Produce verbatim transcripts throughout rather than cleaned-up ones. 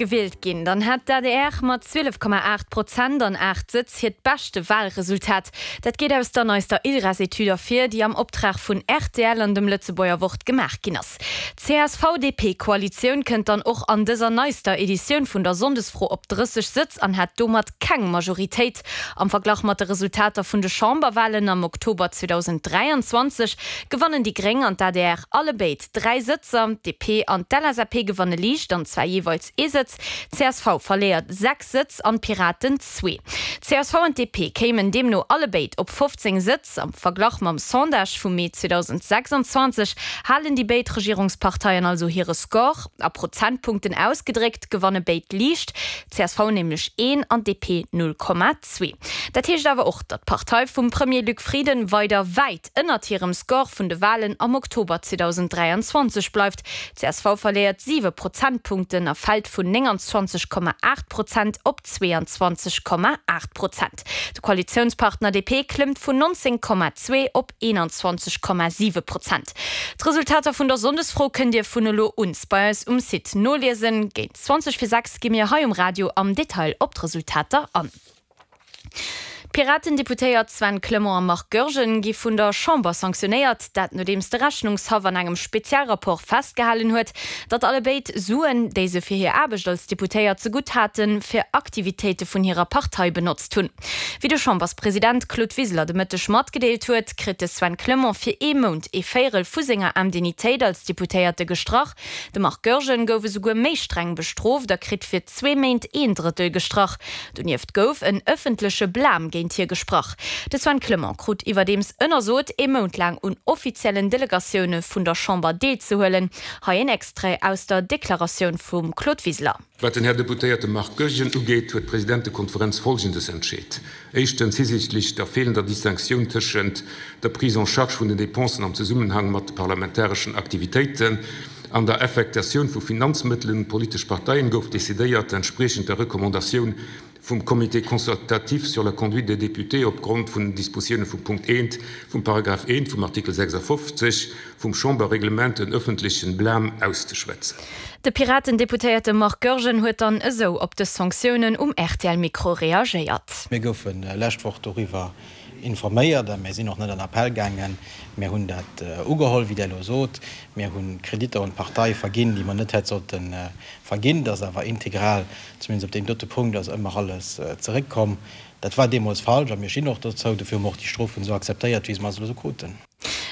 Gewielt ginn, dann hätt d'ADR mat zwielef Komma aacht Prozent an aacht Sëtz hiert beschte Walresultat. Dat geet aus der neister ILReS-Etüd ervir, déi am Optrag vun rtl an dem Lëtzebuerger Wort gemaach ginn ass. D'CSV-DP-Koalitioun kënnt dann och an dëser neister Editioun vun der Sonndesfro op drësseg Sëtz an hätt domat keng Majoritéit. Am Verglach mat de Resultater vun de Chamberwalen am Oktober zweedausend dräianzwanzeg gewannen déi Gréng an d'ADR allebéid dräi Sëtzer, d'DP an d'LSAP gewanne liicht, an zwar jeeweils ee Sëtz. Csv verléiert sechs Sëtz an d'Piraten zwee. Csv an D P kéimen deemno allebéid op fofzéng Sëtz. Am Verglach mam Sondage vum Mee zweedausendsechsanzwanzeg halen déi béid Regierungsparteien also hire Score. A Prozentpunkten ausgedréckt gewanne béid liicht, csv nämlech een an D P null Komma zwee. Dat heescht awer och, datt d'Partei vum Premier Luc Frieden weider wäit ënnert hirem Score vun de Walen am Oktober zweedausenddräianzwanzeg bleift. Csv verléiert siwe Prozentpunkten a fält vun nénganzwanzeg Komma aacht Prozent op zweeanzwanzeg Komma aacht Prozent. De Koalitiounspartner D P klëmmt vun nonzéng Komma zwee op eenanzwanzeg Komma siwe Prozent. D'Resultater vun der Sonndesfro kënnt Dir vun elo un bei eis um Site noliesen. Géint zwanzeg vir sechs gi mir hei um Radio am Detail op d'Resultater an. D'Piraten-Deputéiert Sven Clement a Marc Goergen gi vun der Chamber sanktionéiert, dat nodeems de Rechnungshaff an engem Spezialrapport festgehalen huet, datt allebéid Suen, déi se fir hir Aarbecht als Deputéiert zegutt haten, fir Aktivitéite vun hirer Partei benotzt hunn. Wéi de Chamberspresident Claude Wiseler de Mëtteg matgedeelt huet, kritt de Sven Clement fir ee Mount ee Véierel vu senger Indemnitéit als Deputéierte gestrach. De Marc Goergen gouf esouguer méi streng bestrooft a kritt fir zwee Méint een Drëttel gestrach. Donieft gouf en ëffentleche Blam géint hie gesprach. De Sven Clement krut iwwerdeems ënnersot, ee Mount laang un offiziellen Delegatioune vun der Chamber deelzehuelen. Hei en Extrait aus der Deklaratioun vum Claude Wiseler. Wat den Här Deputéierte Marc Goergen ugeet, huet d'Presidentekonferenz Folgendes entscheet, Éischtens, hisiichtlech der feelender Distinctioun tëschent der Prise en charge vun den Dépensen am Zesummenhang mat de parlamentareschen Aktivitéiten an der Affektatioun vu Finanzmëttelen un d'politesch Parteien, gouf decidéiert, entspriechend der Recommandatioun vum Comité consultatif sur la conduite des députés opgrond vun den Dispositioune vum Punkt eent vum Paragraph eent vum Artikel sechsafofzeg vum Chamberreglement en ëffentlechen Blâme auszeschwätzen. De Piraten-Deputéierte Marc Goergen huet dann esou op dës Sanktiounen um R T L-Mikro reagéiert. Mir goufe lescht Woch doriwwer informéiert a mir sinn och net an Appell gaangen. Mir hunn dat ugeholl, wéi Der elo sot. Mir hu Kreditter un d'Partei verginn, déi mer net hätt sollte verginn. Dat ass awer integral, zumindest op deem dote Punkt ass ëmmer alles zeréckkomm. Dat war deemools falsch a mir stinn och dozou. Dofir hu mer och déi Strofen esou akzeptéiert, wéi se mer se elo kruten.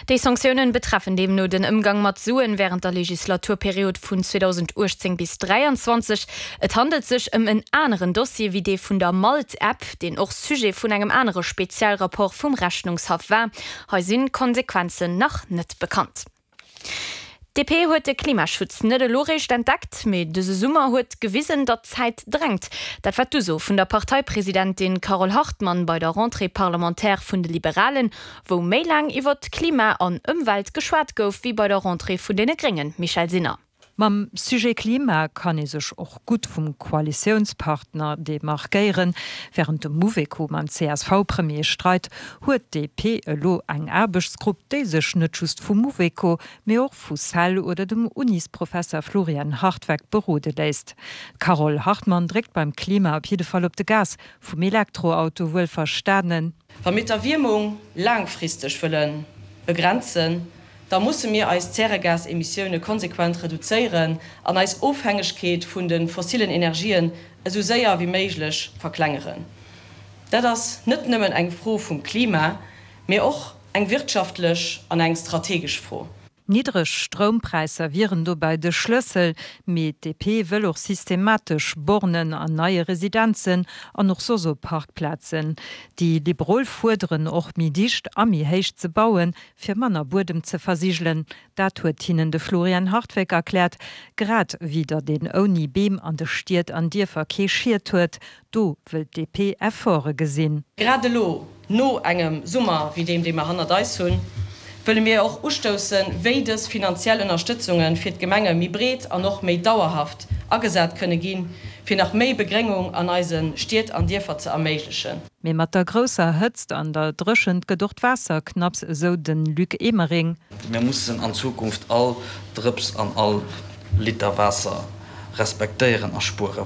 Déi Sanktiounen betreffen deemno den Ëmgang mat Suen wärend der Legislaturperiod vun zweedausendauechtzéng bis dräianzwanzeg. Et handelt sech ëm en aneren Dossier wéi dee vun der Malt-App, deen och Sujet vun engem anere Spezialrapport vum Rechnungshaff war. Hei sinn d'Konsequenzen nach net bekannt. D P huet de Klimaschutz net elo réischt entdeckt, mee dëse Summer huet gewisen, datt d'Zäit drängt. Dat war d'Uso vun der Parteipresidentin Carole Hartmann bei der Rentrée parlementaire vun de Liberalen, wou méi laang iwwert Klima an Ëmwelt geschwat gouf wéi bei der Rentrée vun deene Gréngen, Michèle Sinner. Mam Sujet Klima kann ee sech och gutt vum Koalitiounspartner demarkéieren. Wärend de Mouveco mam C S V-Premier streit, huet D P elo eng Aarbechtsgrupp, déi sech net just vum Mouveco, mee och vu CEL oder dem Unisprofesser Florian Hartweg berode léisst. D'Carole Hartmann dréckt beim Klima op jidde Fall op de Gas, vum Elektroauto wuel verstanen. Wa mir d'Erwiermung laangfristeg wëlle begrenzen, da musse mir eis Zäregasemissioune konsequent reduzéieren an eis Ofhängegkeet vun de fossillen Energien esou séier wéi méiglech verklengeren. Dat ass net nëmmen eng Fro vum Klima, mee och eng wirtschaftlech an eng strategesch Fro. Niddreg Stroumpräisser wieren dobäi de Schlëssel, mee D P wëll och systematesch Bornen an neie Residenzen an och soss op Parkplazen. Déi Liberal fuerderen och méi dicht a méi héich ze bauen, fir manner Buedem ze versigelen. Dat huet hinnen de Florian Hartweg erkläert, grad wéi datt een ouni Beem an de Stied an Dierfer kee Schiet huet, do wëll D P Efforte gesinn. Grad elo, no engem Summer wéi deem, dee mer hannert eis hunn, wëlle mir och ustoussen, wéi dës finanziell Ënnerstëtzunge fir d'Gemenge méi breet an och méi dauerhaft agesat kënne ginn, fir nach méi Begréngung an eise Stied an Dierfer ze erméiglechen. Mee mat der grousser Hëtzt an der Dréchent gëtt och d'Waasser knapps, esou de Luc Emering. Mir mussen an Zukunft all Drëps an all Liter Waasser respektéieren a spueren.